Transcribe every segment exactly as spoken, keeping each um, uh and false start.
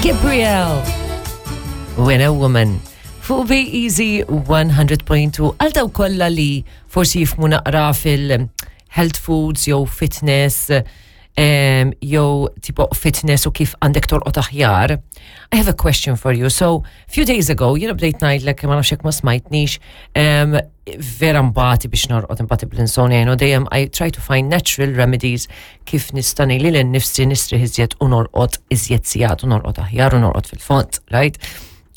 Gabrielle. When a Woman. Fuq Be Easy one hundred point two. Għal dawk kollha li forsi jifhmu naqra fil-health foods jew fitness um, jew tipo fitness u kif għandek torqod aħjar. I have a question for you. So, few days ago, jiena bdejt ngħidlek, ma nafx ma smajtnix, um, vera mbati biex norqod, mbati bl-insomnia, you know, dejjem I try to find natural remedies kif nista' lili nnifsi nistrieħ iżjed u norqod iżjed sigħat u norqod aħjar u norqod fil-fond, right?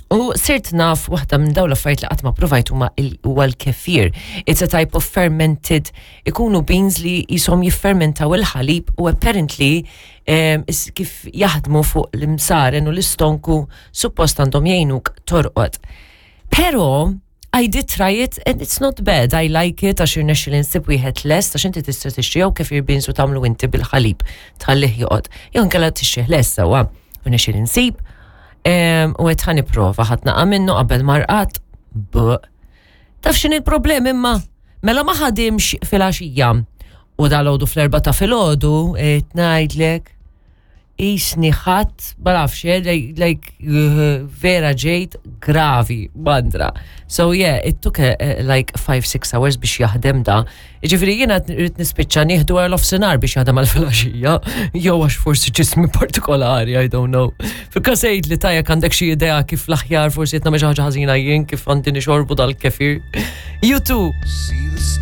U sirt naf waħda minn dawn l-affarijiet li qatt ma provajt huma huwa l-kefir. It's a type of fermented, ikunu beans li jisom jiffermentaw il-ħalib u apparently um, kif jaħdmu fuq l-imsaren u l-istonku suppost għandhom jgħinuk torqod. Pero I did try it and it's not bad. I like it għax irnexxieli nsib wieħed lest, għax inti tista' tixtri jew kefir beans u tagħmlu inti bil-ħalib tħallih joqgħod. Jew inkella tixtrih lest sewwa. U rnexxieli nsib u għedt ħa nipprova, ħadt naqra minnu qabel ma rqadt. Taf x'inhi il-problem imma? Mela ma ħadimx fil-għaxija. U dalgħodu fl-erbgħa ta' filgħodu, ngħidlek, jisni ħadd, ma nafx, eh, like, like uh, vera ġejt gravi, bandra. So yeah, it took a, a, like five, six hours biex jaħdem da. Ġifieri jiena rrid nispiċċa nieħdu għal nofsinhar biex jaħdem għal filgħaxija, jew għax forsi ġismi partikolari, I don't know. Fil-każ li tajjeb għandek xi idea kif l-aħjar, forsi qed nagħmel xi ħaġa ħażina jien kif għandi nixorbu dal-kefir. You too.